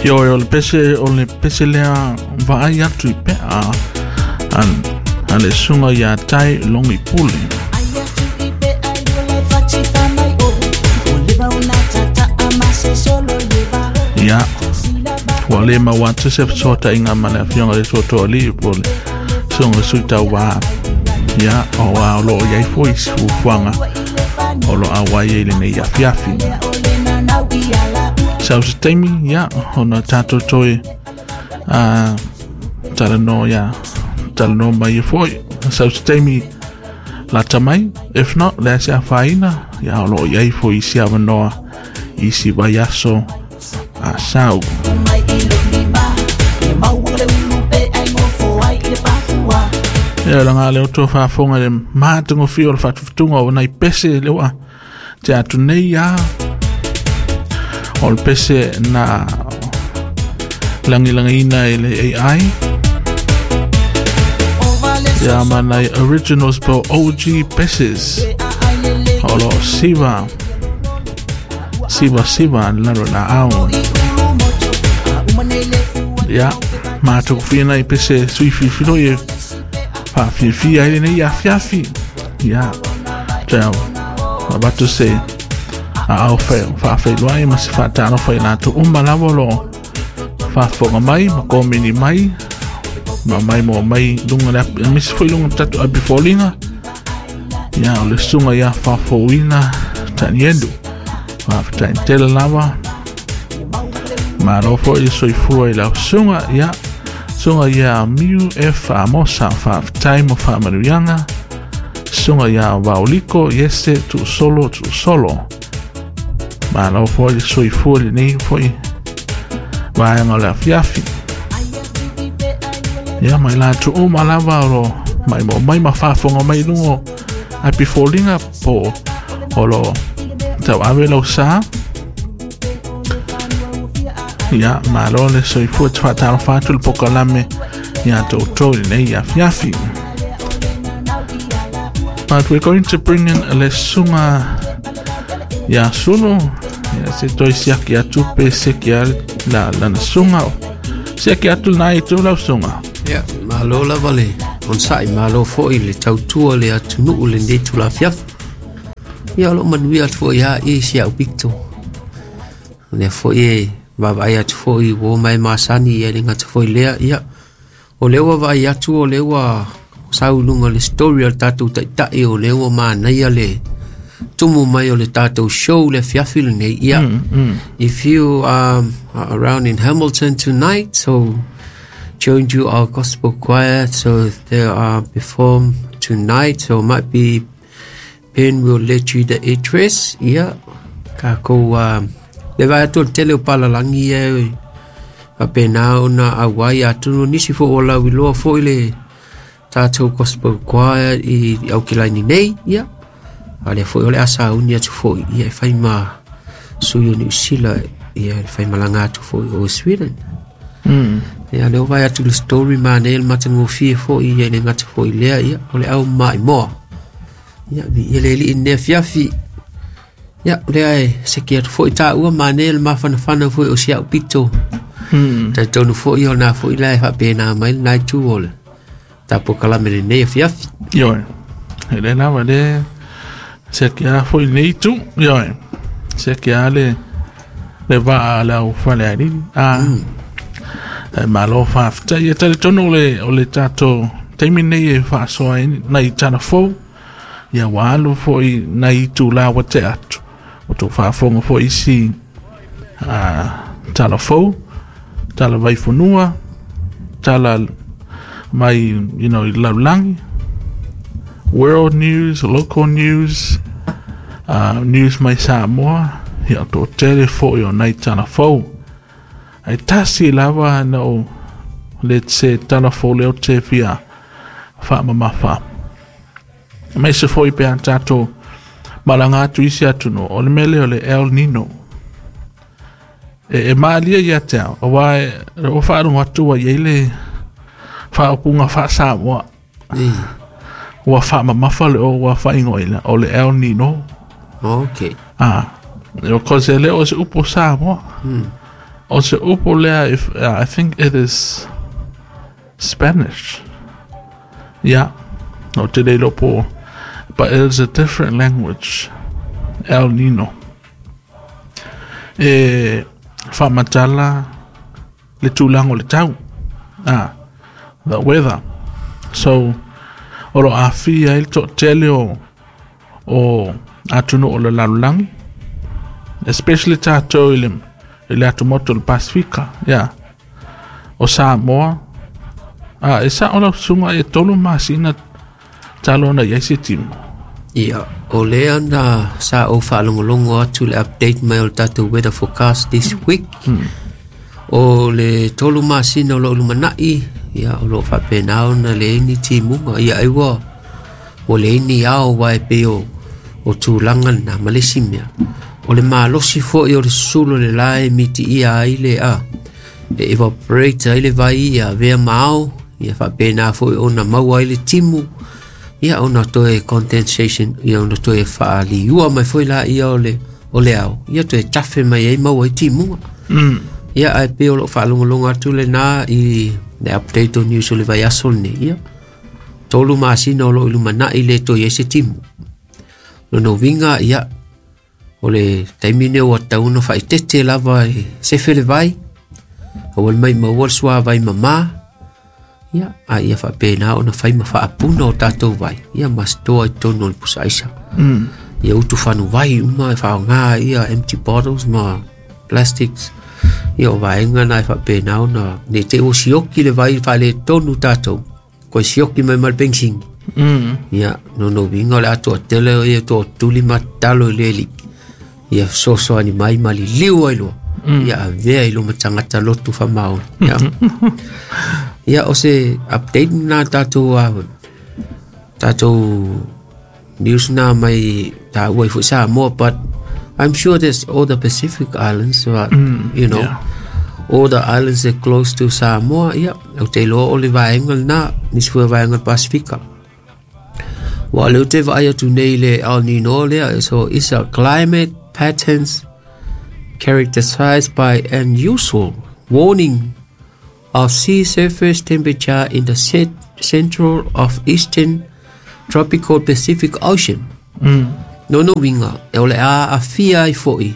Ioe, o le pese lea vaai atu i pea a le susuga ia Tai Logi Pule. Ia, ua le maua atu se fesootaiga ma le afioga i le Toatoalii po o le susuga i le Sui Tauva. Ia, o a o loo i ai foi isi fuafuaga o lo auai ai lenei afiafi. Sau se taimi, ia, ona tatou toe talanoa, ia, talanoa mai ai foi. Sau se taimi lata mai, if not, le se afaina, ia, o loo i ai foi isi avanoa isi vaiaso a sau. Ia laga le o faafofoga le matagofie o le faatufatuga o nai pese le ua te atu nei ia. O le pese na lagilagiina e le AI ia ma nai originals po OG peses o lo siva siva siva lalo la ao. Ia matagofie nai pese sui filifilo e faafiafia ai lenei afiafi. Ia tau avatu se aao faafeiloai ma se faatalofa i latou uma lava o loo faafofoga mai ma komeni mai ma mai mo mai luga le aemaise foi luga tatou api foliga. Ia, o le susuga ia faafouina Tanielu, faafetai tele lava, malo foi le soifua i lau susuga. Ia, susuga ia Miu F Amosa, faafetai mo faamanuiaga. Susuga ia Vaoliko Iese Tuusolo Tuusolo, malo foi le soifua lenei foi vaega o le afiafi. Ia, mai latou uma lava o lo mai mo mai ma faafofoga mai luga api foliga po o lo tauave lau sa. Ia, malo le soifua, te faatalofa atu le pokalame ia toutou lenei afiafi. But we're going to bring in le susuga ia Sulu, ia se toe siaki atu pe seki a la lana susuga. Siaki atu lena itu lau susuga. Ia, malo lava le onosai, malo foi le tautua le atunuu lenei tulafiafi. Ia, o loo manuia atu foi ia i si au pito. Lea foi e vaavaai atu foi ua mai masani ia le gata foi lea. Ia, o lea ua vaai atu o lea ua sau luga le story o le tatou taitai, o lea ua manaia le tumu mai o le tatou show le afiafi lenei. Ia, if you are around in Hamilton tonight, so join you our gospel choir. So they are perform tonight. So might be Ben will let you the address. Ia, kākou le vai atu o le tele o palalangi e faapena ona auai atonu nisi foi o lau iloa foi le tatou gospel choir i Aukelaini nei. Ia, a lea foi o le a sauni atu foi ia e fai ma sui o Niu Sila, ia e fai malaga atu foi o Sweden. Ia, lea o vai atu le story manei le matagofie foi ia le gata foi lea. Ia, o le au maimoa. Ia, vi ia le alii lenei afiafi. Ia, o lea e seki atu foi taua manei le mafanafana foi o si au pito. Talitonu foi o na foi la e faapena mai lena itu o le tapo kalame lenei afiafi. Ioe. E le lava le seki a foi lenei itu. Ioe. Seki a le vaa le au fale alili. Ah. E malo faafetai. E talitonu o le tatou taimi nei e faasoa ai nai tala fou. Ia ua alu foi nai itulā ua tea atu. O tou faafofoga foi isi tala fou, tala vaifanua, tala mai i lalolagi, world news, local news, news mai Samoa, ia o tele foi o nai tala fou. Ai tasi lava na o le se tala fou leo te fia faamamafa. Mai se foi pe a tatou malaga atu isi atunuu, o le mea lea o le El Nino. E maalia ia te au, aua e o faalogo atu ua i ai le faaupuga faa-Samoa. Ua faamamafa le o ua faaigoaina o le El Nino. Ah, o cause e le o se upu Samoa. O se upu lea, if, I think it is Spanish. Yeah, o te le iloa po, but it is a different language. El Nino. E faamatala le tulaga o le tau. Ah, the weather. So, o lo aafia ai le toatele o atunuu o le lalolagi, especially tatou i le atumotu o le Pasifika, yeah. O Samoa, e sao lau susuga e 3 masina talu ona i ai se timu. Ia, o lea na sa ou faalogologo atu le update mai o le tatou weather forecast this week. O le 3 masina o loo lumanai, ia o loo faapena ona leai ni timuga. Ia ai ua leai ni ao aua e pei o tulaga lena ma le isi mea. O le malosi foi o le susulu o le la e mitiia ai le a e evaporate ai le vai ia avea ma ao ia faapena foi ona maua ai le timu ia ona toe condensation ia ona toe faaliua mai foi la ia o le ao ia toe tafe mai ai maua ai timuga. Ia ae pei o loo faalogologo atu lena i le update o news o le vaiaso lenei ia 3 masina o loo i lumanai le toe i ai se timu. Lona uiga ia o le taimi nei ua tatau ona faaitete lava e sefe le vai aua le maumau le suavai mamā ia a ia faapena ona fai ma faapuna o tatou vai ia ma stoa i totonu o le pusa aisa. Ia utu fanuvai uma e faaaoga ia empty bottles ma plastics ia o vaega na e faapena ona ne te ua sioki le vai faaletonu tatou koe sioki mai ma le penisini. Ia lona uiga o le atoa tele o ia toatuli ma tatalo i le Alii ia fesoasoani mai ma liliu ai loa ia avea i luma tagata lotu faamaoni ia. Ia o se update na tatou news na mai taua ai foi Samoa, but I'm sure there's all the Pacific Islands, but all the islands that close to Samoa ia ou te iloa o le vaega lena nisi foi o vaega o le Pasifika. Ua o lea ou te vaai atu nei i le El Nino lea, so it's a climate patterns characterized by unusual warming of sea surface temperature in the central of eastern tropical Pacific Ocean. Lona uiga, e o le a aafia ai foi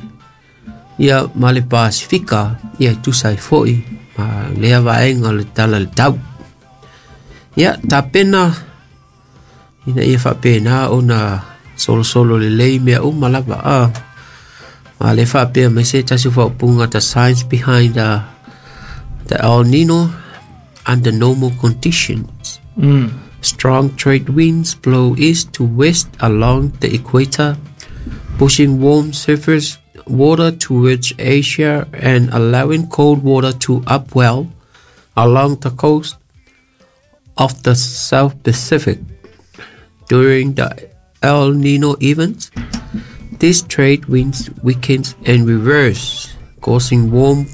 ia ma le Pasifika ia e tusa ai foi ma lea vaega o le tala le tau. Ia tapena ina ia faapena ona solosolo lelei mea uma lava a. Ma le faapea mai se tasi o faaupuga, the science behind the El Nino: under normal conditions. Strong trade winds blow east to west along the equator, pushing warm surface water towards Asia and allowing cold water to upwell along the coast of the South Pacific. During the El Nino event, this trade winds weakens and reverse, causing warm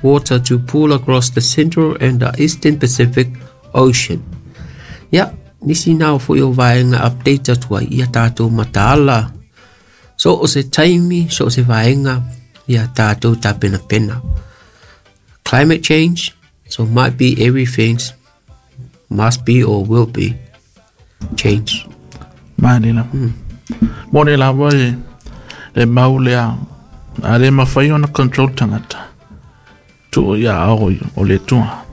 water to pool across the central and the eastern Pacific Ocean. Ia, nisi na foi o vaega update atu ai ia tatou mataala. So o se taimi, so o se vaega, ia tatou tapenapena. Climate change, so might be everything must be or will be change. Mani lava. Moni lava e le mau lea. A le mafai ona control tagata. Tuu ia ao o le Atua.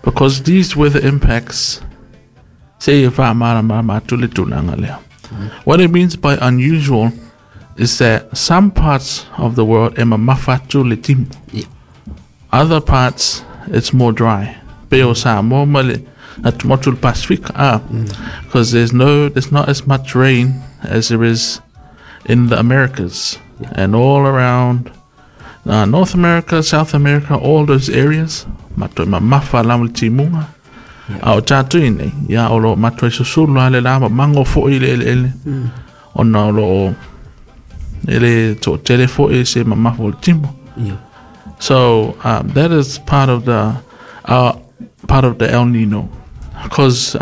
Because these weather impacts, se e faamalamalama atu le tulaga lea. What it means by unusual is that some parts of the world e mamafa atu le timu. Other parts, it's more dry. Pe o Samoa ma le atumotu le Pacific, because there's not as much rain as there is in the Americas and all around North America, South America, all those areas. Matua mamafa lava le timuga. A o tatou i nei, ia o lo matua i susulu ale la ma mango foi le eleele. Ona o lo o e le toatele foi se mamafa o le timu. So that is part of the El Nino, because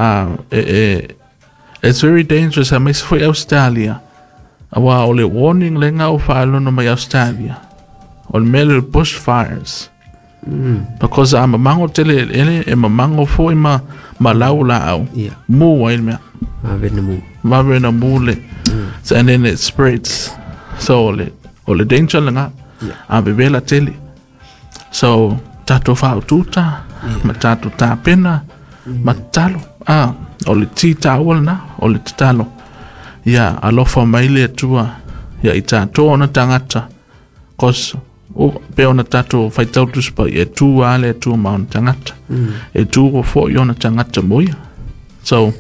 it's very dangerous. Aemaise foi Australia. Aua o le warning lenga o faalono mai Australia. O le mea lea o le bush fires. Because a mamago tele eleele e mamago foi ma lau laau. Mu ai le mea. Vave na mu. Vave na mu le. So, and then it spreads. So o le danger lena. A vevela tele. So tatou faaututa ma tatou tapena ma tatalo. Ah, o le ti taua lena, o le tatalo. Ia alofa mai le Atua ia i tatou ona tagata. Cause o pe ona tatou faitau Tusi Paia e tu a le Atua ma ona tagata. E tu foi ona tagata mo ia. So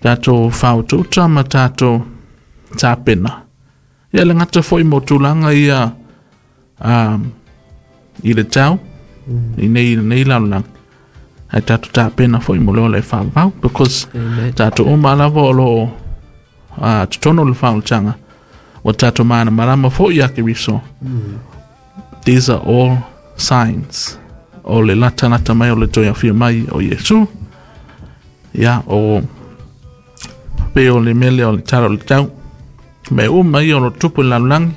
tatou faaututa ma tatou tapena. Ia le gata foi mo tulaga ia i le tau, i nei lalolagi. Ai tatou tapena foi mo le ola e faavavau because Amen. Tatou uma lava o loo totonu o le faaolataga ua tatou malamalama foi ia Keriso. These are all signs o le latalata mai o le toe afio mai o Iesu. Ia o pe o le mele o le tala o le tau. Mea uma ia o lo tupu i le lalolagi.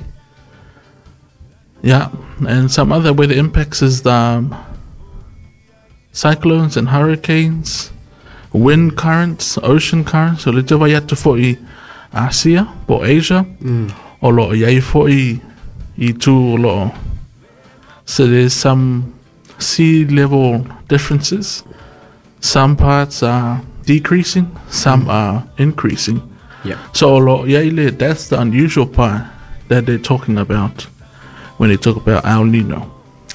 Yeah, and some other weather impacts is the cyclones and hurricanes, wind currents, ocean currents. So le te vai atu foi Asia po Asia, o lo o iai foi i tu o lo o. So there's some sea level differences. Some parts are decreasing, some are increasing. So o lo o iai le, that's the unusual part that they're talking about when they talk about El Nino.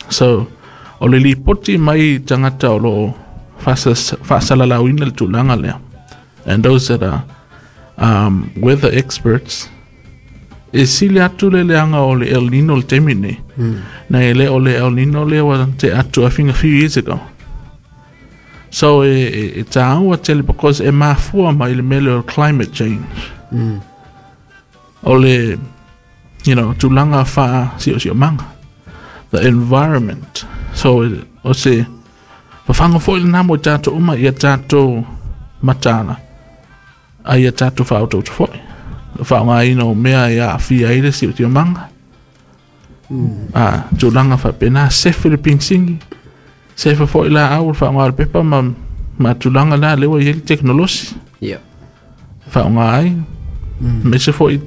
So o le lipoti mai tagata o lo o faasalalauina le tulaga lea. And those that are weather experts, e sili atu le leaga o le El Nino le taimi nei. Na e le o le El Nino lea ua te atu, I think, a few years ago. So e tāua tele because e mafua mai le mele o climate change. O le tulaga fa siosiomaga. The environment. So o se fafanga foi lena mo i tatou uma ia tatou mataala a ia tatou faaotauta foi. Faaaogaina o mea e aafia ai le siosiomaga. A tulaga faapena sefe le pigisigi. Sefe foi laau o le faaaoga o le pepa ma tulaga la lea ua i ai le teknolosi. Faaaoga ai. Aemaise foi